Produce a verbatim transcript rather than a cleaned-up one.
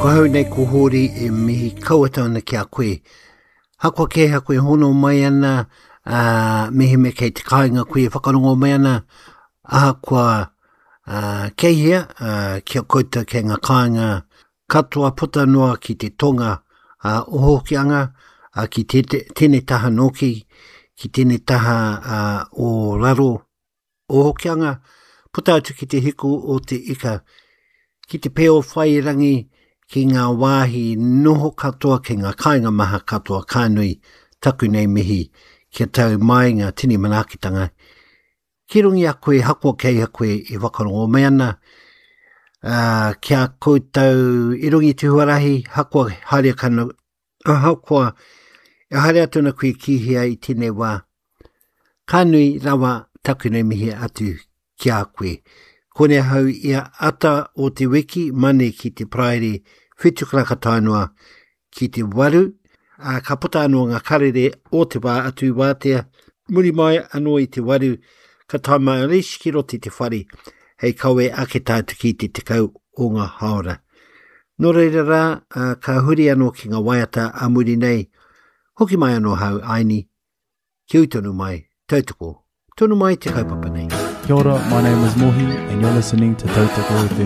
Ko hau nei ko Hōri e mihi kauata ana ki a koe. Hakoa kē ha koe hono mai ana, uh, mehemea kei te kāinga koe e whakarongo mai ana, ahakoa uh, kei hea, uh, kia koutou kei ngā kāinga katoa puta noa ki te tonga uh, o Hokianga, uh, ki te, te, tēnei taha nōki, ki tēnei taha uh, o raro o Hokianga, puta atu ki te hiku o te ika, ki te peo whai rangi, ki ngā wāhi noho katoa, ki ngā kāinga maha katoa, ka nui taku nei mihi, kia tau mai ngā tini manaakitanga. Ki runga i a koe, hakoa kei a koe e whakarongo mai ana, uh, kia koutou i runga i te huarahi, hakoa haere kana, ahakoa e haere atu ana koe ki hea i tēnei wā. Ka nui rawa taku nei mihi atu ki a koe. Kone hau ia ata o te wiki, mane ki te Paraire, whitu karaka tae noa ki te waru, ā, ka puta anō ngā karere o te wā atu i wātea, muri mai anō i te waru, ka tae mai a Lish ki roto i te whare, hei kawe ake tātou ki te tekau o ngā hāora. Nō reira rā, ā, ka huri anō ki ngā waiata a muri nei, hoki mai anō hau aini, kia ū tonu mai, tautoko, tonu mai te kaupapa nei. Kia ora, my name is Mohi and you're listening to Tautoko F M.